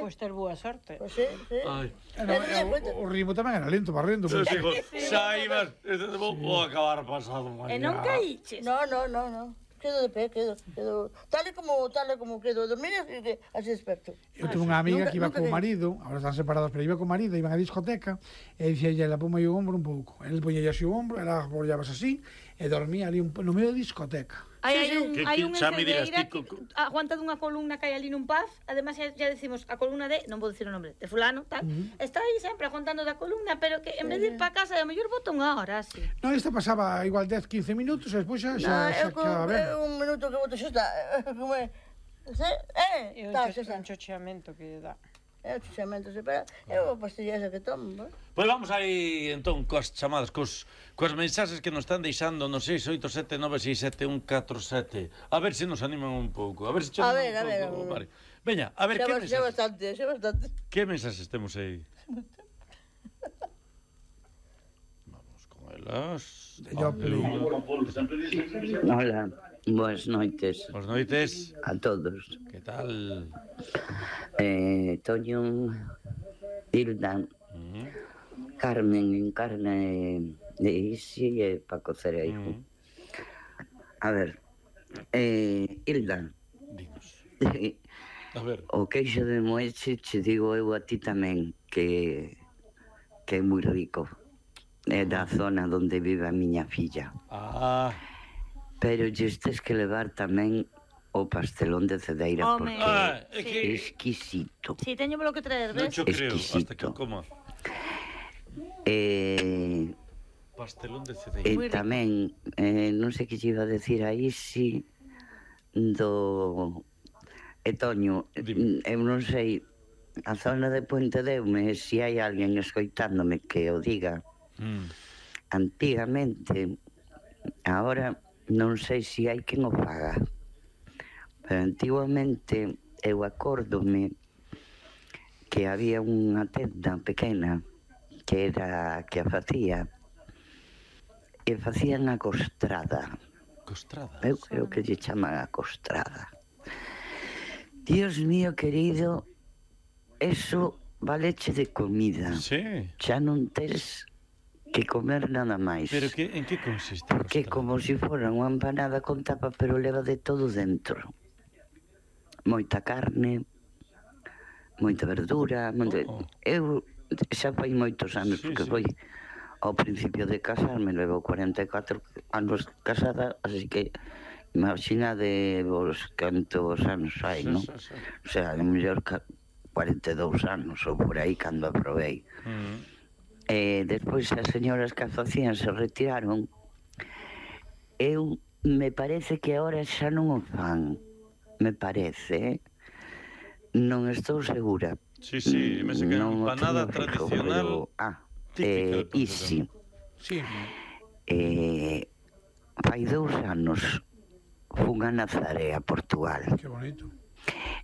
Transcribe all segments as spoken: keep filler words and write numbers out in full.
Pois ter boa sorte. Pois sí, sí. O ritmo tamén era lento, barrendo. Xa ibas, vou acabar pasado mañá. E non caíches? No, no, no, no. Quedo de pé, quedo, quedo... Tal e como, tal e como quedo. Dormir así desperto. Eu tuve unha amiga que iba co marido, agora están separados, pero iba co marido, iban á discoteca, e dicía ela, ponme o ombro un pouco. El poñía así o ombro, ela apoyabas así, e dormía ali no medio da discoteca. Hai sí, un, sí. hai un enfermeira que aguanta dunha columna que hai ali nun paz, además xa, xa decimos a columna de, non vou dicir o nombre, de fulano, tal, uh -huh. está aí sempre aguantando da columna, pero que en vez de ir para casa, a mellor bota unha hora, así. Non, esta pasaba igual dez, quince minutos, e despois xa, xa, xa quedaba ben. Un minuto que boto xa está, como é, eh, está, xa está. É un chocheamento que dá. É o chuchamento, se para, é a pastilla esa que tomo, eh? Pois vamos aí, entón, coas chamadas, cos, coas mensaxes que nos están deixando no seis oito sete nove seis sete un catro sete. A ver se nos animan un pouco, a ver se a ver, a ver, pouco, vale. Veña, a ver, xa, que xa mensaxes? bastante, xa bastante. Que mensaxes temos aí? Vamos con elas. Hola, boas noites. Boas noites. A todos. Que tal? Eh, Toño, Hilda, uh -huh. Carmen, Encarna de Isi e Paco Cereijo. Uh -huh. A ver, eh, Hilda. Dinos. A ver. O queixo de Moeche, che digo eu a ti tamén, que, que é moi rico. É da zona onde vive a miña filla. Ah. Pero lles tes que levar tamén o pastelón de Cedeira, porque ah, é que... exquisito. Si, sí, teño polo que traer, ves? Non xo creo, hasta que coma. Eh... Pastelón de Cedeira. E tamén, eh, non sei que lle iba a decir aí, si, do... E Toño, eu non sei, a zona de Puente Deume, se hai alguén escoitándome que o diga, mm. antigamente, agora non sei se hai quen o faga, pero antiguamente eu acórdome que había unha tenda pequena que era que a facía e facían a costrada. Costrada? Eu creo que lle chaman a costrada. Dios mío querido, eso valeche de comida. Sí. Xa non tes que comer nada máis. Pero que, en que consiste? Porque como se si fora unha empanada con tapa, pero leva de todo dentro. Moita carne, moita verdura, moita... Oh. Eu xa fai moitos anos, sí, porque sí. foi ao principio de casarme, levo cuarenta e catro anos casada, así que imaginade vos cantos anos hai, non? Sí, sí, sí. O sea, a mellor cuarenta e dous anos ou por aí cando aprobei. Mm. E despois as señoras que a facían se retiraron. Eu me parece que agora xa non o fan. Me parece, non estou segura. Sí, sí, me sei que é empanada tradicional. Pero, ah, eh, isi. Sí. Eh, fai dous anos fun a Nazaré, a Portugal. Que bonito.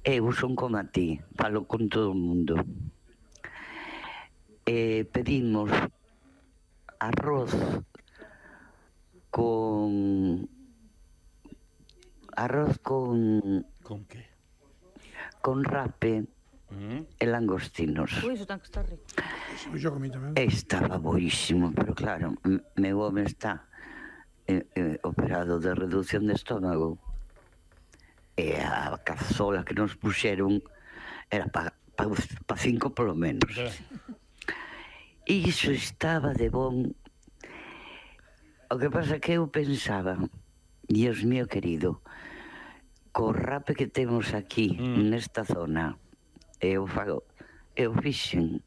Eu son como a ti, falo con todo o mundo. Eh, pedimos arroz con... Arroz con... Con que? Con rape mm. e langostinos. Ui, iso tan que está rico. Yo comí tamén. Estaba boísimo, pero claro, meu home está eh, eh, operado de reducción de estómago. E a cazola que nos puxeron era para pa, pa cinco polo menos. E iso estaba de bon. O que pasa que eu pensaba, Dios mío querido, co rape que temos aquí, mm. nesta zona, eu fago, eu fixen,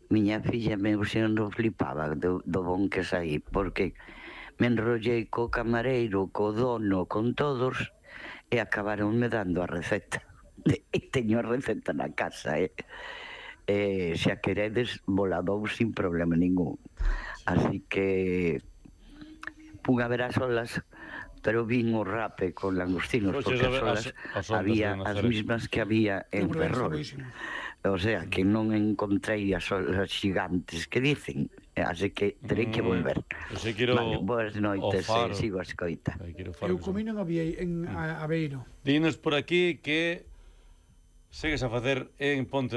miña filla me non flipaba do, do bon que saí, porque me enrollei co camareiro, co dono, con todos, e acabaronme dando a receta. E teño a receta na casa, eh? E se a queredes, voladou sin problema ningún. Así que pun a ver as olas, pero vin o rape con langostinos, porque as olas había as mismas que había en Ferrol. O sea, que non encontrei as olas gigantes que dicen, así que terei que volver. Vale, boas noites, sigo a escoita. Eu comí non había en Aveiro. Dinos por aquí que segues a facer en Ponte